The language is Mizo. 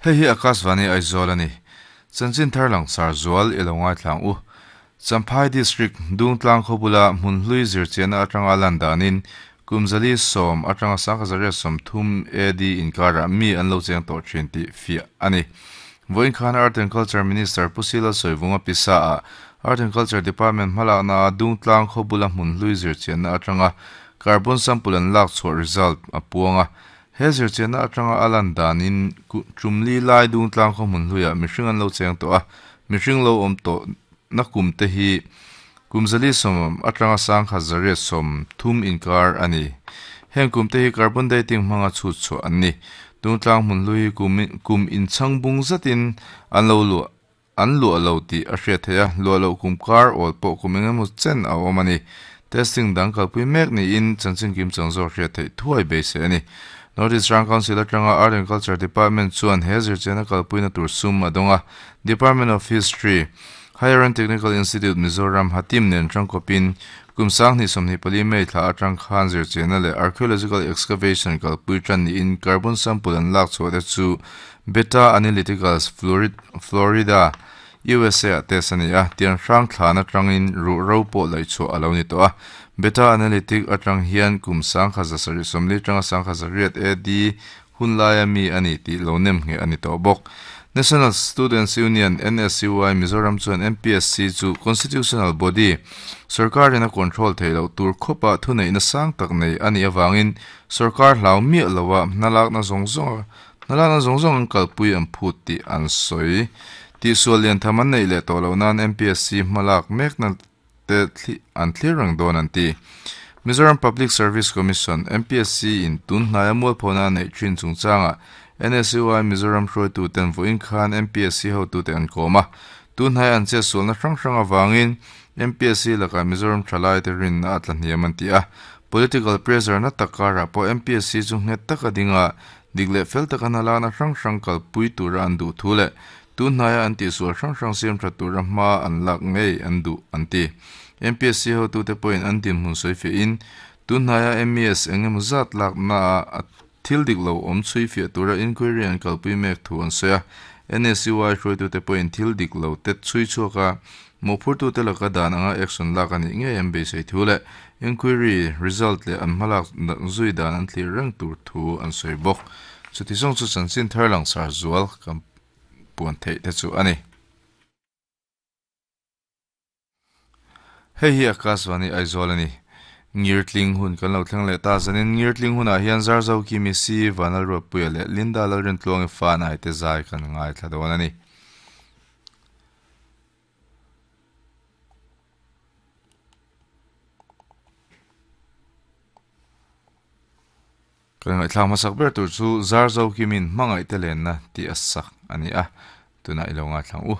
Hei hi Akashvani Aizawl a ni. Chanchin thar langsar zual i lo ngaithlang u. Champhai District, Dungtlang khaw bula hmun hlui zirchiahna atanga lan danin kum 410 atanga 1130 AD inkarah mi an lo cheng tawh thin tih fiah a ni. Vawiin khan Art and Culture Minister Pu Sila Sawivunga pisa ah Art and Culture Department hmalakna ah Dungtlang khaw bula hmun hlui zirchiahna atanga carbon sample an lak chhuah result a puang a. He zirchiahna atanga a lan danin tumli lai Dungtlang khaw hmun hluiah mihring an lo cheng tawh a, mihring lo awm tawh na kum te hi kum 410 atanga 1130 inkar a ni. Heng kum te hi carbon dating hmanga chhut chhuah an ni. Dungtlang hmun hlui hi kum inchhang bung zatin an lo luah an luah lo tih a hriat theih a, luah loh kum kar awl pawh kum eng emaw chen a awm a ni. Testing dang kalpui mek niin chanchin kim chang zawk hriat theih thuai beisei a ni. North East Rang Council atanga Art and Culture Department chuan he zirchiahna kalpuina tur sum a dawng a, Department of History, Higher and Technical Institute Mizoram Hatim nen tangkawpin kum 2024 May thla atang khan zirchiahna leh archaeological excavation kalpui tan niin carbon sample an lak chhuah te chu Beta Analyticals Florida, USA ah test a ni a, tiang hrang thlan atangin ruh ro pawh laih chhuah a lo ni tawh a. Beta Analytic atang hian kum 1770 tanga 1800 AD hun laia mi a ni tih lo nem nge a ni tawh bawk. National Students Union, NSUI, Mizoram chuan MPSC chu constitutional body, sorkarin a control theih loh tur khawpa thuneihna sang tak nei a nih avangin sorkar hlau miah loa hnalakna zawng zawng hnalakna zawng zawng an kalpui an phut tih an sawi. Tihsual lian tham an neih leh tawh loh nan MPSC hmalak mekna te an thlir reng dawn an ti. Mizoram Public Service Commission, MPSC, in tun hnaia mualphona a neih thin chungchangah NSUI Mizoram hruaitu ten vawiin khan MPSC hotute an kawm a. Tun hnai an che sualna hrang hrang avangin MPSC lakah Mizoram thalai te rinna a tla hniam an ti a. Political pressure na tak karah pawh MPSC chu nghet taka dinga dik leh fel taka hnalakna hrang hrang kalpui tura an duh thu leh tun hnaia an tihsual hrang hrang siam tha tura hma an lak ngei an duh an ti. MPSC hotute pawhin an dinhmun sawi fiahin tun hnaia MES eng emaw zat lakna a thil dik lo awm chhui fiah tura inquiry an kalpui mek thu an sawi a. NSUI hruaitute pawhin thil dik lo te chhui chhuak a, mawhphurtute laka dan anga action lak a nih ngei an beisei thu leh inquiry result leh an hmalak zui dan an thlir reng tur thu an sawi bawk. Chuti zawng chu chanchin thar langsar zual kan puan theih te chu a ni. Hei hi Akashvani Aizawl a ni. Ngirtling hun kan lo thleng leh ta zanin Ngirtling hunah hian Zarzo Kimi Si, Vanal Ruatpuia leh Linda Lalrintluangi fa nai te zai kan ngaithla dawn a ni. Kan ngaihthlak hmasak ber tur chu Zarzo Kimin hmangaih te lenna tih a sak a ni a, tunah i lo ngaithlang u.